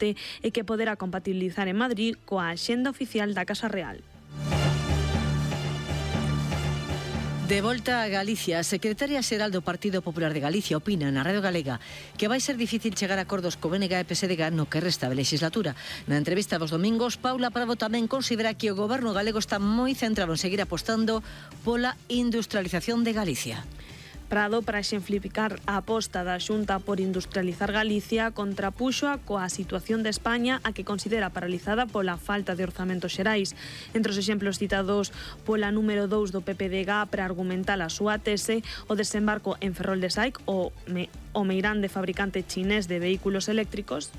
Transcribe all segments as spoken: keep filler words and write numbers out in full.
adopte e que poderá compatibilizar en Madrid coa axenda oficial da Casa Real. De volta a Galicia, a secretaria xeral do Partido Popular de Galicia opina na Radio Galega que vai ser difícil chegar a acordos co B N G e P S D G no que resta de legislatura. Na entrevista dos domingos, Paula Prado tamén considera que o goberno galego está moi centrado en seguir apostando pola industrialización de Galicia. Prado, para exemplificar a aposta da Xunta por industrializar Galicia, contrapuxoa coa situación de España, a que considera paralizada pola falta de orzamentos xerais. Entre os exemplos citados pola número dous do P P D G para argumentar a súa tese, o desembarco en Ferrol de Saic, o, me, o meirande fabricante chinés de vehículos eléctricos.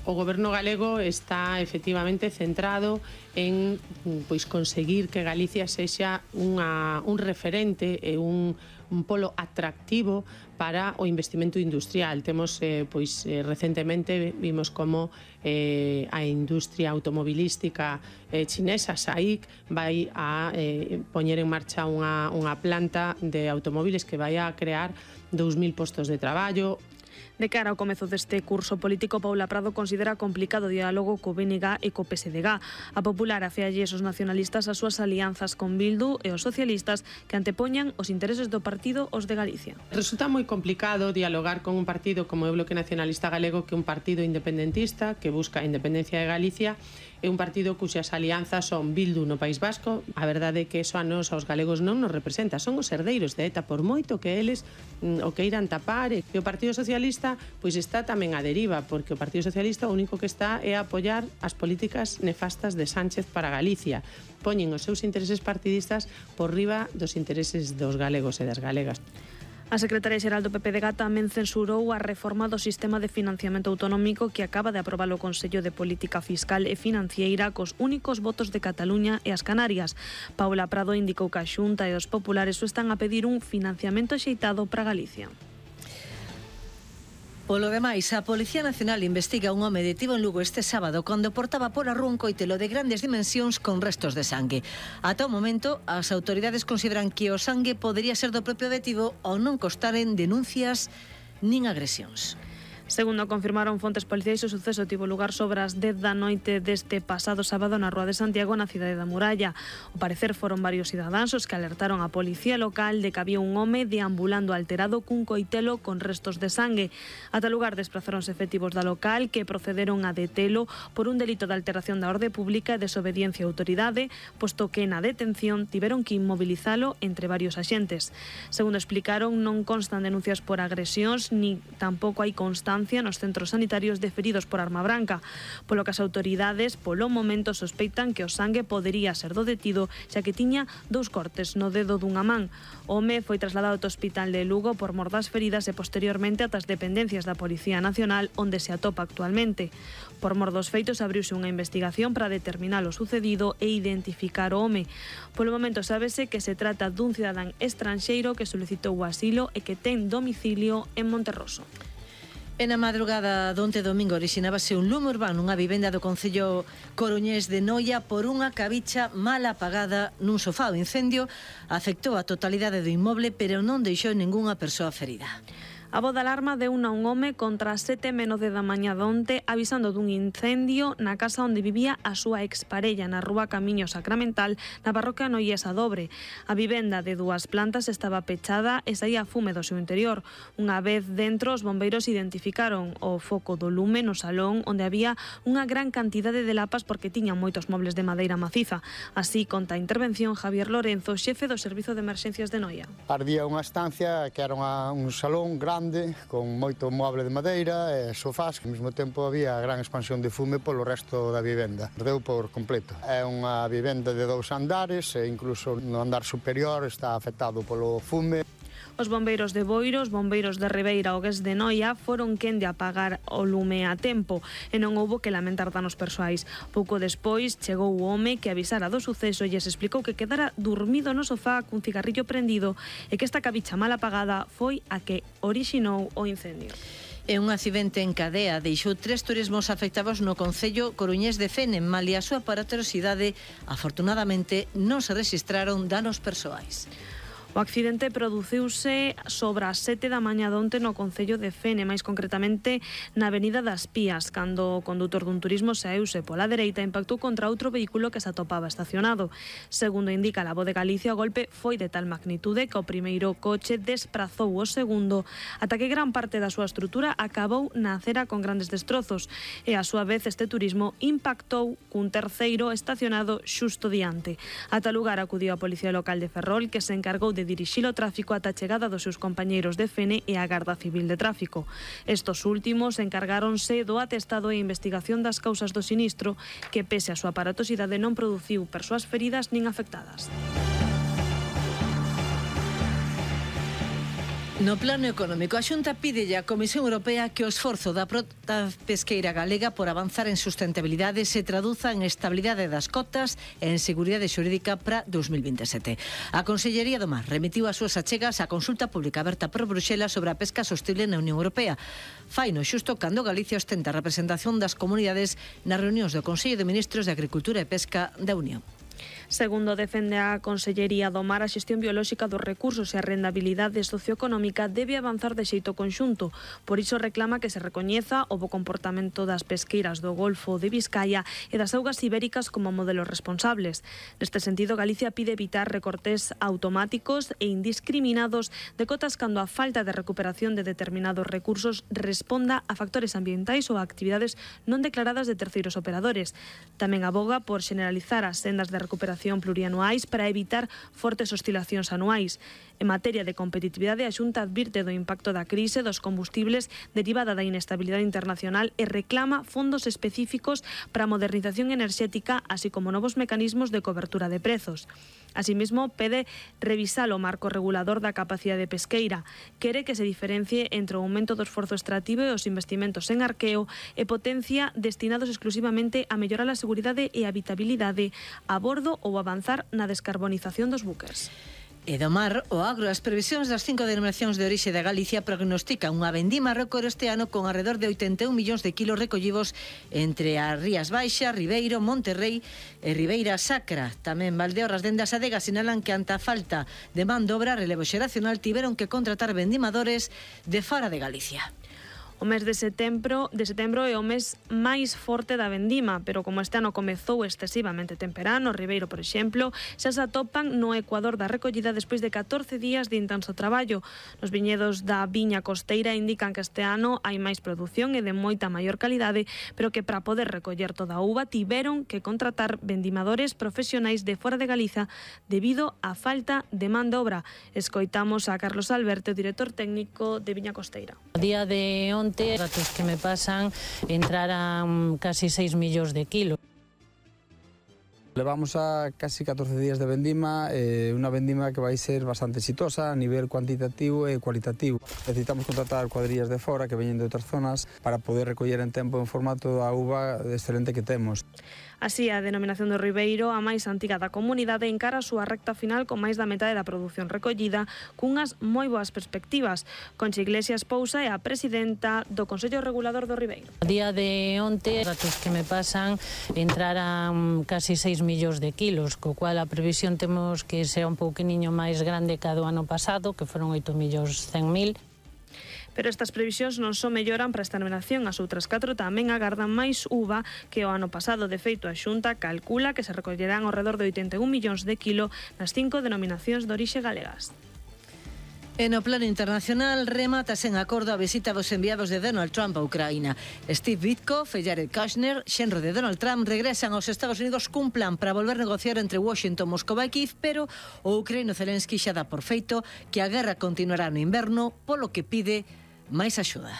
O goberno galego está efectivamente centrado en pois conseguir que Galicia sexa unha, un referente e un, un polo atractivo para o investimento industrial. Temos, eh, pois, eh, recentemente vimos como eh, a industria automobilística eh, chinesa, SAIC, vai a eh, poñer en marcha unha, unha planta de automóviles que vai a crear dous mil postos de traballo. De cara ao comezo deste curso político, Paula Prado considera complicado o diálogo co B N G e co P S D G. A Popular afealle os nacionalistas as súas alianzas con Bildu e os socialistas que antepoñan os intereses do partido aos de Galicia. Resulta moi complicado dialogar con un partido como o Bloque Nacionalista Galego, que é un partido independentista que busca a independencia de Galicia, é un partido cuxas alianzas son Bildu no País Vasco. A verdade é que eso a nos, aos galegos, non nos representa. Son os herdeiros de ETA, por moito que eles mm, o queiran tapar. E o Partido Socialista pois está tamén a deriva, porque o Partido Socialista o único que está é a apoiar as políticas nefastas de Sánchez para Galicia. Poñen os seus intereses partidistas por riba dos intereses dos galegos e das galegas. A secretaria xeral do P P D G tamén censurou a reforma do sistema de financiamento autonómico que acaba de aprobar o Consello de Política Fiscal e Financiera cos únicos votos de Cataluña e as Canarias. Paula Prado indicou que a Xunta e os populares o están a pedir un financiamento axeitado para Galicia. Polo demais, a Policía Nacional investiga un home detido en Lugo este sábado cando portaba por a rúa un coitelo de grandes dimensións con restos de sangue. Ata o momento, as autoridades consideran que o sangue podería ser do propio detido ou non costaren denuncias nin agresións. Segundo confirmaron fontes policiais, o suceso tivo lugar sobre as dez da noite deste pasado sábado na Rúa de Santiago, na cidade da Muralla. Ao parecer foron varios cidadáns os que alertaron a policía local de que había un home deambulando alterado cun coitelo con restos de sangue. Ata lugar desplazaronse efectivos da local que procederon a detelo por un delito de alteración da orde pública e desobediencia á autoridade, posto que na detención tiveron que inmobilizalo entre varios axentes. Segundo explicaron, non constan denuncias por agresións, ni tampouco hai constancia nos centros sanitarios de feridos por arma branca, polo que as autoridades polo momento sospeitan que o sangue podería ser do detido, xa que tiña dous cortes no dedo dunha man. O home foi trasladado ao hospital de Lugo por mor das feridas e posteriormente ata as dependencias da Policía Nacional, onde se atopa actualmente. Por mor dos feitos abriuse unha investigación para determinar o sucedido e identificar o home. Polo momento sábese que se trata dun cidadán estranxeiro que solicitou o asilo e que ten domicilio en Monterroso. E na madrugada donte domingo orixinábase un lume urbano nunha vivenda do concello coruñés de Noia por unha cabicha mal apagada nun sofá. O incendio afectou a totalidade do inmoble, pero non deixou ningunha persoa ferida. A voz de alarma deu a un home contra as sete menos de da mañá donte, avisando dun incendio na casa onde vivía a súa exparella na rúa Camiño Sacramental, na parroquia noiesa Dobre. A vivenda de dúas plantas estaba pechada e saía fume do seu interior. Unha vez dentro, os bombeiros identificaron o foco do lume no salón, onde había unha gran cantidade de lapas porque tiñan moitos mobles de madeira maciza. Así conta a intervención Javier Lorenzo, xefe do Servizo de Emerxencias de Noia. Ardía unha estancia que era unha, un salón grande con moito moble de madeira e sofás, que ao mesmo tempo había gran expansión de fume polo resto da vivenda. Ardeu por completo. É unha vivenda de dous andares e incluso no andar superior está afectado polo fume. Os bombeiros de Boiro, os bombeiros de Ribeira e o Gués de Noia foron quen de apagar o lume a tempo e non houbo que lamentar danos persoais. Pouco despois chegou o home que avisara do suceso e lles explicou que quedara dormido no sofá cun cigarrillo prendido e que esta cabicha mal apagada foi a que orixinou o incendio. E un accidente en cadea deixou tres turismos afectados no concello coruñés de Fene. Malia a súa paraterosidade, afortunadamente non se rexistraron danos persoais. O accidente produciuse sobre as sete da mañá de onte no concello de Fene, máis concretamente na avenida das Pías, cando o condutor dun turismo saeuse pola dereita e impactou contra outro vehículo que se atopaba estacionado. Segundo indica a Voz de Galicia, o golpe foi de tal magnitude que o primeiro coche desprazou o segundo ata que gran parte da súa estrutura acabou na acera con grandes destrozos e a súa vez este turismo impactou cun terceiro estacionado xusto diante. Ata lugar acudiu a Policía Local de Ferrol, que se encargou de dirixir o tráfico ata a chegada dos seus compañeiros de Fene e a Garda Civil de Tráfico. Estos últimos encargáronse do atestado e investigación das causas do sinistro, que pese a súa aparatosidade non produciu persoas feridas nin afectadas. No plano económico, a Xunta pide á Comisión Europea que o esforzo da frota pesqueira galega por avanzar en sustentabilidade se traduza en estabilidade das cotas e en seguridade xurídica para dos mil veintesete. A Consellería do Mar remitiu as súas achegas á consulta pública aberta por Bruxelas sobre a pesca sostible na Unión Europea. Faino xusto cando Galicia ostenta a representación das comunidades nas reunións do Consello de Ministros de Agricultura e Pesca da Unión. Segundo defende a Consellería do Mar, a xestión biolóxica dos recursos e a rendabilidade socioeconómica debe avanzar de xeito conxunto. Por iso reclama que se recoñeza o bo comportamento das pesqueiras do Golfo de Vizcaya e das augas ibéricas como modelos responsables. Neste sentido, Galicia pide evitar recortes automáticos e indiscriminados de cotas cando a falta de recuperación de determinados recursos responda a factores ambientais ou a actividades non declaradas de terceiros operadores. Tamén aboga por generalizar as sendas de recuperación plurianuais para evitar fortes oscilacións anuais. En materia de competitividade, a Xunta advirte do impacto da crise dos combustibles derivada da inestabilidade internacional e reclama fondos específicos para a modernización enerxética, así como novos mecanismos de cobertura de prezos. Asimismo, pede revisar o marco regulador da capacidade pesqueira. Quere que se diferencie entre o aumento do esforzo extractivo e os investimentos en arqueo e potencia destinados exclusivamente a mellorar a seguridade e a habitabilidade a bordo ou avanzar na descarbonización dos buques. E do mar, o agro, as previsións das cinco denominacións de orixe de Galicia prognostican unha vendima récord este ano con alrededor de oitenta e un millóns de kilos recollidos entre as Rías Baixas, Ribeiro, Monterrei e Ribeira Sacra. Tamén Valdeorras dende as adegas sinalan que ante a falta de man de obra relevo xeracional tiveron que contratar vendimadores de fora de Galicia. O mes de setembro, de setembro é o mes máis forte da vendima, pero como este ano comezou excesivamente temperano, Ribeiro, por exemplo, xa se atopan no ecuador da recollida despois de catorce días de intenso traballo. Nos viñedos da viña costeira indican que este ano hai máis produción e de moita maior calidade, pero que para poder recoller toda a uva tiveron que contratar vendimadores profesionais de fora de Galiza debido á falta de man de obra. Escoitamos a Carlos Alberto, director técnico de Viña Costeira. A día de onte, os datos que me pasan, entraran casi seis millóns de kilos. Levamos a casi catorce días de vendima, eh, unha vendima que vai ser bastante exitosa a nivel cuantitativo e cualitativo. Necesitamos contratar cuadrillas de fora que veñen de outras zonas para poder recoller en tempo en formato a uva excelente que temos. Así, a denominación do Ribeiro, a máis antiga da comunidade, encara a súa recta final con máis da metade da produción recollida, cunhas moi boas perspectivas. Concha Iglesias Pousa é a presidenta do Consello Regulador do Ribeiro. A día de onte, os datos que me pasan, entraran casi seis millóns de kilos, co cual a previsión temos que será un pouquiniño máis grande que a do ano pasado, que foron oito millóns cen mil. Pero estas previsións non só melloran para esta denominación, as outras catro tamén agardan máis uva que o ano pasado. De feito, a Xunta calcula que se recollerán ao redor de oitenta e un millóns de kilo nas cinco denominacións de orixe galegas. E no plano internacional, remata sen acordo a visita dos enviados de Donald Trump a Ucraína. Steve Witkoff e Jared Kushner, xenro de Donald Trump, regresan aos Estados Unidos cun plan para volver a negociar entre Washington, Moscova e Kiev, pero o ucraíno Zelensky xa dá por feito que a guerra continuará no inverno, polo que pide máis axuda.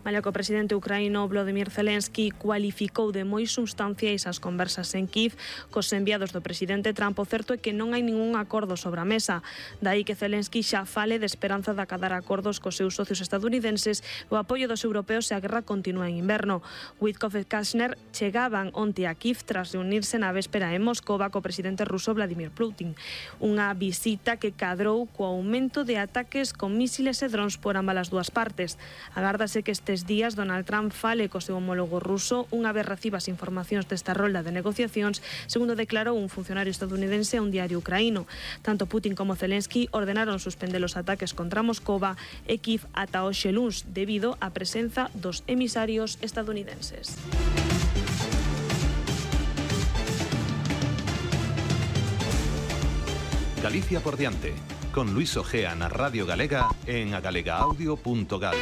Malia que o presidente ucraíno Volodymyr Zelensky cualificou de moi substanciais as conversas en Kiev cos enviados do presidente Trump, o certo é que non hai ningún acordo sobre a mesa. Daí que Zelensky xa fale de esperanza de acadar acordos cos seus socios estadounidenses o apoio dos europeos se a guerra continúa en inverno. Witkoff e Kushner chegaban onte a Kiev tras reunirse na véspera en Moscova co presidente ruso Vladimir Putin. Unha visita que cadrou co aumento de ataques con mísiles e drons por ambas as dúas partes. Agárdase que este nestes días Donald Trump fale co seu homólogo ruso unha vez reciba as informacións desta rolda de negociacións, segundo declarou un funcionario estadounidense a un diario ucraíno. Tanto Putin como Zelensky ordenaron suspender os ataques contra Moscova e Kiev ata hoxe luns debido á presenza dos emisarios estadounidenses. Galicia por diante, con Luis Ojea na Radio Galega en agalega audio punto gal.